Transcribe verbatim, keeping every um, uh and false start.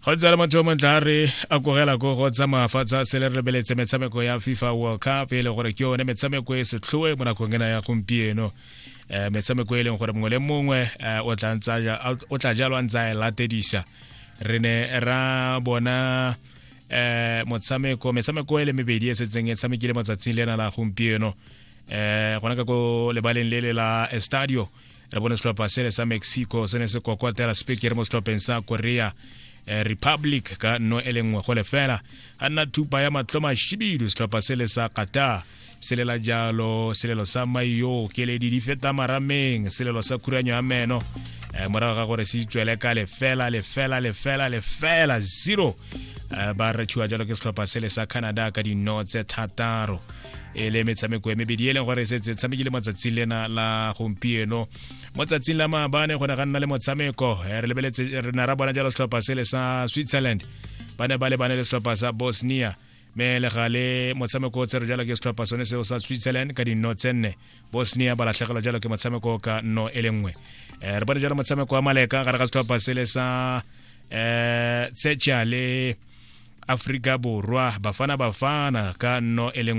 Go ntse le motho o montle a re akogela ko go tsamaya fa tsa se le re lebeletse metshameko ya FIFA World Cup, e le gore ke yone metshameko e setlhoe mo nakong ena ya gompieno, um metshameko e leng gore mongwe le mongwe o tla o tla jalo a ntse a e latedisa. Re ne ra bona um motshameko metshameko e le mebedi e setseng e tshamekile mo tsatsing lena la gompieno, um gona ka ko lebaleng le le la Estadio. Re bone setlhopha sele sa Mexico se ne se kokotela speaker mo setlhopheng sa Korea Republic ka nno e le nngwe go lefela. Ga nna thupa ya matlho mashibidu, setlhopha sele sa Qatar selela jalo selelo sa maio, keledi di feta marameng, selelo sa khuranyo ya meno, morago ga gore se itswele ka lefela lefela lefela lefela zero, ba rethiwa jalo ke setlhopha sele sa Canada ka dino tse thataro. E le metshameko e mebedi e leng gore e setse tshamekile mo tsatsing lena la gompieno. Mo tsatsing la maabane go ne ga nna le motshameko, re lebeletse, re ne ra bona jalo setlhopha sele sa Switzerland ba ne ba lebane le setlhopha sa Bosnia, mme le gale motshameko o tsere jalo ke setlhopha sone seo sa Switzerland ka dinno tse nne. Bosnia ba latlhegelwa jalo ke motshameko ka nno e le nngwe. Re bone jalo motshameko wa maleka gare ga setlhopha sele sa um Czechia le Afrika Borwa, Bafana Bafana, ka nno e le